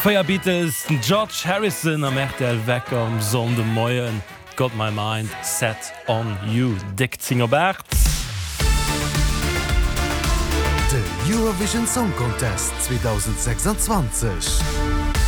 4 Beatles, den George Harrison am rtl Wecker um Sonndemoien. Got my mind set on you. Déck 10 op 8. De Eurovision Song Contest 2026.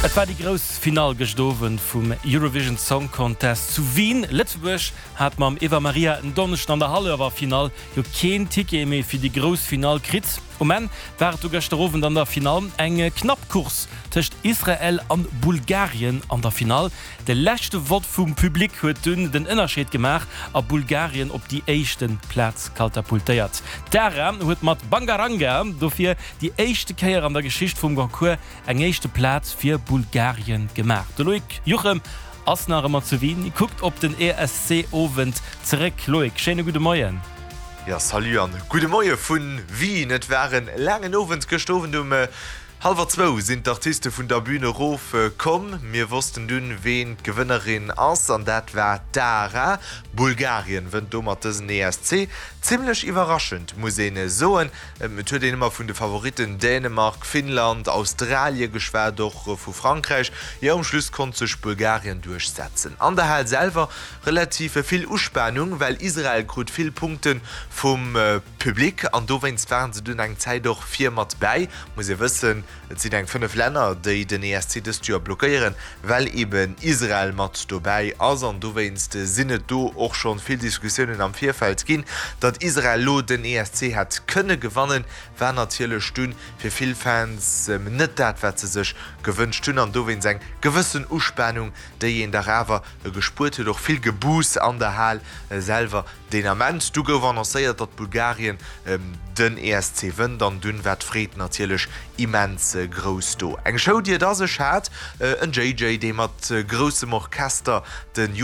Et war déi grouss Finall gëscht Owend vum Eurovision Song Contest zu Wien. Lëtzebuerg hat mam Eva Maria en Donneschden an der Halleffinall jo keen Ticket méi fir déi grouss Finall kritt. Um Enn war et du gëschter Owend an der Finall eng knapp Course tëscht Israel an Bulgarien an der Finall. De leschte Vott vum Public huet dunn den Ënnerscheed gemaach a Bulgarien op déi éischte Plaz katapultéiert. D'Dara huet mat Bangaranga dofir déi éischte Kéier an der Geschicht vum Concours eng éischte Plaz fir Bulgarien gemaach. De Loïc Juchem ass nach ëmmer zu Wien, kuckt op den ESC-Owend zeréck. Loïc, schéine gudde Moien. Jo, salut an gudde Moie vun Wien. Et war en laangen Owend gëscht Owend. Um hallwer zwou sinn d'Artiste vun der Bühn erof komm. Mir wossten dunn, ween d'Gewënnerin ass, an dat war d'Ara. Bulgarien wënnt domat dësen ESC. Zimmlech iwwerraschend, muss een soen. Et huet een ëmmer vun de Favoritten Dänemark, Finnland, Australie geschwat, och vu Frankräich. Jo, um Schluss konnt sech Bulgarien duerchsetzen. An der Hal selwer Relativ vill Uspanung, well Israel krut vill Punkte vum Public an dowéinst waren se dunn eng Zäit och vir mat bäi. Muss ee wëssen, et sinn eng 5 Länner, déi den ESC dëst Joer blockéieren, well eben Israel mat dobäi ass an dowéinst sinn et do och schonn vill Diskussiounen am Virfeld ginn. Datt Israel lo den ESC hätt kënne gewannen, war natierlech dunn fir vill Fans net dat, wat se sech gewënscht hunn an dowéinst eng gewëssen Uspanung, déi een dach awer E gespuert huet och vill Gebuuss an der Hal selwer deen Ament. Du gouf annoncéiert, datt Bulgarien den ESC wënnt an dunn war d'Freed natierlech immens grouss do. Eng Show, déi et a sech hat, en JJ, dee mat groussem Orchester den.